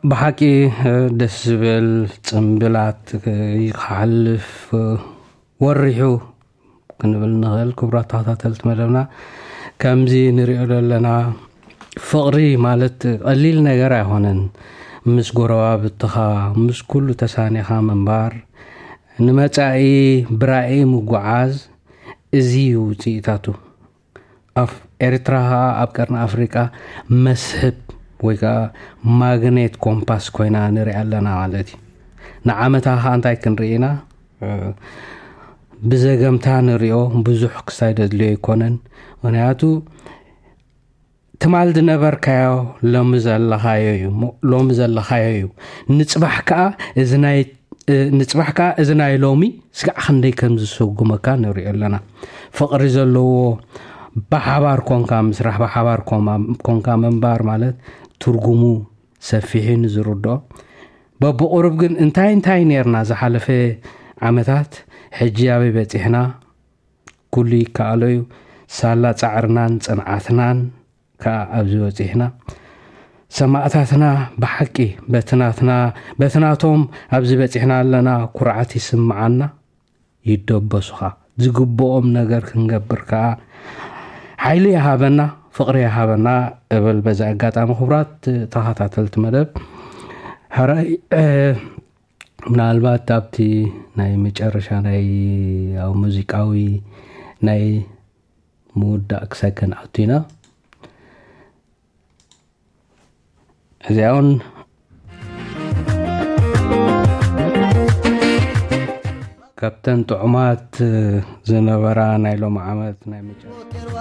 ብሓቂ ደስ ዝብል ጽምብላት ክሓልፍ ወሪሑ ክንብል ንኽእል። ክቡራት ተኸታተልቲ መደብና፣ ከምዚ ንሪኦ ዘለና ፍቕሪ ማለት ቀሊል ነገር ኣይኮነን። ምስ ጎረባብትኻ፣ ምስ ኩሉ ተሳኒኻ ምንባር፣ ንመጻኢ ብራኢ ምጉዓዝ፣ እዚ እዩ ውፅኢታቱ። ኣብ ኤርትራ ኸዓ ኣብ ቀርኒ ኣፍሪቃ መስሕብ ወይ ከዓ ማግኔት ኮምፓስ ኮይና ንሪኣ ኣለና ማለት እዩ። ንዓመታ ኸዓ እንታይ ክንርኢ ኢና? ብዘገምታ ንሪኦ፣ ብዙሕ ክሳይ ዘድልዮ ኣይኮነን። ምኽንያቱ ትማል ዝነበርካዮ ሎሚ ዘለኻዮ እዩ፣ ሞ-፣ ሎሚ ዘለኻዮ እዩ። ንጽባሕ ከኣ እዚ ናይ፣ እ፣ ንጽባሕ ከኣ እዚ ናይ ሎሚ ስጋዕ ክንደይ ከም ዝሰጉመካ ንሪኦ ኣለና። ፍቕሪ ዘለዎ ብሓባር ኮንካ ምስራሕ፣ ብሓባር ኮማ-፣ ኮንካ ምንባር ማለት ትርጉሙ ሰፊሕ እዩ ንዝርድኦ። በብቑሩብ ግን እንታይ እንታይ ኔርና ዝሓለፈ ዓመታት፣ ሕጂ ኣበይ በጺሕና? ኩሉ ይከኣሎ እዩ። ሳላ ጻዕርናን ጽንዓትናን ከኣ ኣብዚ በጺሕና። ሰማእታትና ብሓቂ በቲ ናትና፣ በቲ ናቶም ኣብዚ በጺሕና ኣለና፣ ኩርዓት ይስምዓና። ይደበሱኻ። ዝግብኦም ነገር ክንገብር ከኣ ሓይሊ ይሃበና፣ ፍቕሪ ይሃበና እብል። በዚ ኣጋጣሚ ክቡራት ተኸታተልቲ መደብ፣ ሕራይ፣ እ፣ ምናልባት ኣብቲ ናይ መጨረሻ ናይ፣ ኣብ ሙዚቃዊ ናይ ምውዳእ ክሳይ ከንኣቱ ኢና። እዚኣ እውን ካብተን ጥዑማት ዝነበራ ናይ ሎሚ ዓመት ናይ መጨረሻ